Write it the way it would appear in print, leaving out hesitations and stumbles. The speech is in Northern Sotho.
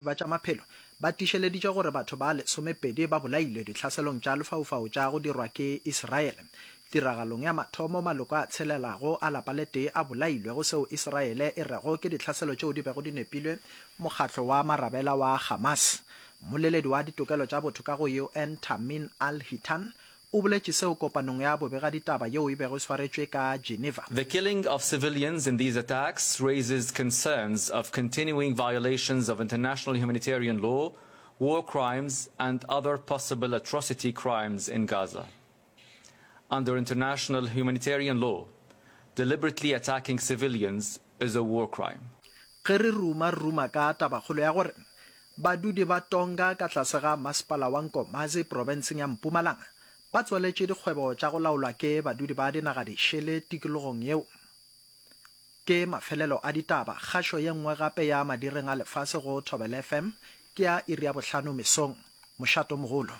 Ba tša maphelo ba tiišeleditše gore batho ba lesomepedi ba bolailwe ditlhaselong tša lefaufau tša go dirwa ke Israele. Tiragalong ya mathomo, maloko a tshelelago a lapa le tee a bolailwe go seo Israele e rego ke ditlhaselo tšeo di bego di nepilwe mokgatlo wa marabela wa Hamas. Mmoleledi wa ditokelo tša botho ka go UN Thameen Al-Hitan O boletše seo kopanong ya bobegaditaba yeo e bego e swaretšwe ka Geneva. The killing of civilians in these attacks raises concerns of continuing violations of international humanitarian law, war crimes and other possible atrocity crimes in Gaza. Under international humanitarian law, deliberately attacking civilians is a war crime. Ge re ruma, re ruma ka tabakgolo ya gore Badudi ba Tonga ka tlase ga Masepala wa Nkomazi profenseng ya Mpumalanga ba tswaletše dikgwebo tša go laolwa ke badudi ba dinaga dišele tikologong yeo. Ke mafelelo a ditaba. Kgašo ye nngwe gape ya madireng a lefase go Thobela FM ke ya iri ya bohlano mesong. Mošato mogolo.